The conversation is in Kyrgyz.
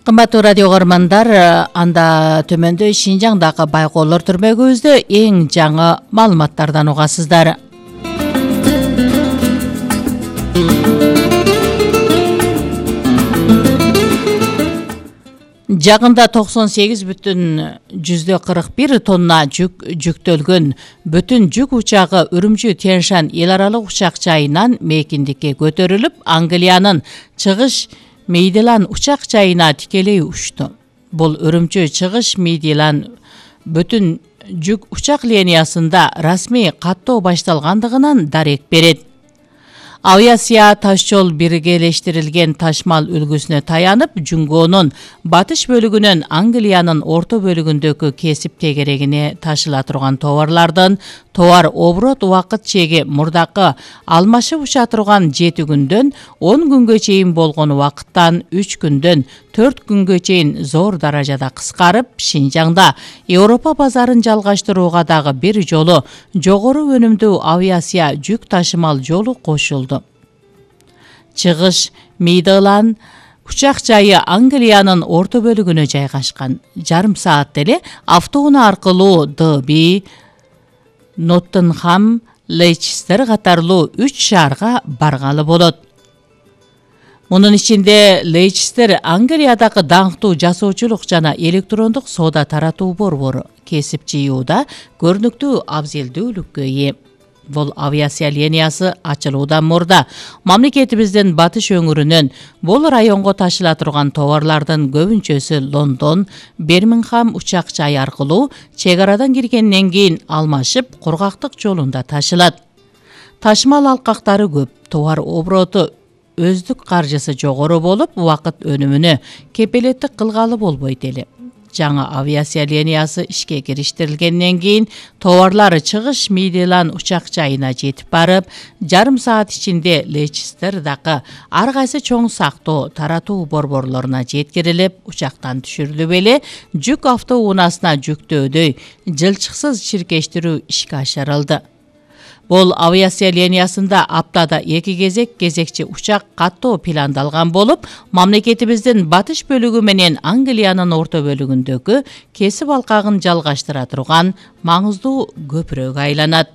Кымбаттуу радио көрөрмандар, анда төмөндө Шинжаңдагы байкоолор түрмөгүбүздө эң жаңы маалыматтардан угасыздар. Жагында 98,41 тонна жүктөлгөн бүтүн жүк учагы Үрүмчү-Тянь-Шань эл аралык учак жайынан мейкиндикке көтөрүлүп, Англиянын чыгыш Мейдилан учак жайына тикелей учту. Бул Үрүмчү-Чыгыш Мейдилан бүтүн жүк учак линиясында расмий каттоо башталгандыгынан дарек берет. Авиация таш жол биргелештирилген ташмал үлгүсүнө таянып, Жунгонун батыш бөлүгүнөн Англиянын орто бөлүгүндөгү кесип тегерегине ташыла турган товарлардын товар оборот убакыт чеги мурдакы алмашып уча турган 7 күндөн 10 күнгө чейин болгон убакыттан 3 күндөн 4 күнгө чейин зор даражада кыскарып, Шинжаңда Европа базарын жалгаштырууга дагы бир жолу жогору өнүмдүү авиация жүк ташымал жолу кошулду. Чыгыш Мейдилан учак жайы Англиянын орто бөлүгүнө жайгашкан. Жарым саат эле автоунаа аркылуу Дерби, Ноттингем, Лейчестер катарлуу 3 шаарга баргалы болот. Мунун ичинде Лейчестер Англиядагы даңктуу жасоочулук жана электрондук соода таратуу борбору, кесип жыюуда көрүнүктүү абзелдүүлүккө ээ. Бул авиация линиясы ачылуудан мурда мамлекетибиздин батыш өңүрүнөн бул районго ташыла турган товарлардын көбүнчөсү Лондон, Бирмингем учак жайы аркылуу чек арадан киргенден кийин алмашып кургактык жолунда ташылат. Ташмал алкактары көп, товар обороту өздүк каржысы жогору болуп, убакыт өнүмүнө кепилеттик кылгалы болбойт эле. Жаңа авиация линиясы ишке кириштирилгенден кийин товарлар Чыгыш Мейдилан учак жайына жетип барып, жарым саат ичинде Лейчестердагы ар кайсы чоң сактоо таратуу борборлоруна жеткирилип, учактан түшүрүлүп эле жүк автоунаасына жүктөөдөй жылчыксыз чиркештирүү ишке ашырылды. Бул авиация линиясында аптада 2 кезекчи учак каттоо пландалган болуп, мамлекетибиздин батыш бөлүгү менен Англиянын орто бөлүгүндөгү кесип алкагын жалгаштыра турган маңыздуу көпүрөгө айланат.